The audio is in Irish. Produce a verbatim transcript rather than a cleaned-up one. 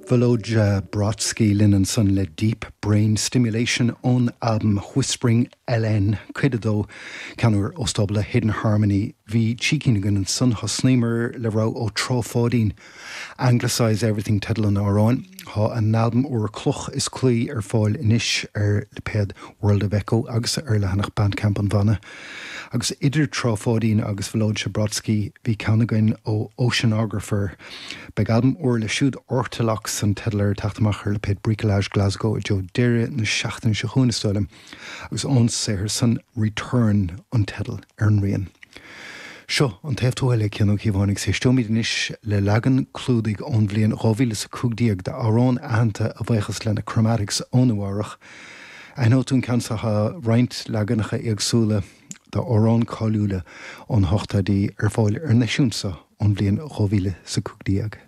Volodja Brodsky linn ansan le Deep Brain Stimulation ón albam Whispering LN cuid a dó ceann úr ó stábla Hidden Harmony bhí trí cinn againn ansan thosnaíomar le rogha ó Trá Pháidín. Anglicize Everything teideal an amhráin Tá an albam úr Cloch is Claí ar fáil anois ar lipéad World of Echo agus ar leathanach Bandcamp an bhanna. Agus idir Trá Pháidín agus Volodja Brodsky bhí ceann againn ó Oceanographer. Beidh albam úr le siúd Ortolox an teideal air ag teacht amach ar lipéad Bricolage Glasgow i dtreo deireadh na seachtaine seo chugainn is dóigh liom, agus ón saothar san Return an teideal ar an rian. Seo an taobh tuaithe le Cian Ó Cíobháin agus éisteoimid anois le leagan clúdaigh ón bhliain dhá mhíle is a cúig déag d'amhrán aitheanta a bhuíochas le na Chromatics ó Nua Eabhrac. Aithneoidh tú an ceann seo tá roinnt leaganacha éagsúla d'amhráin cáiliúla ón hochtóidí ar fáil ar an eisiúint seo ón bhliain dhá mhíle is a cúig déag.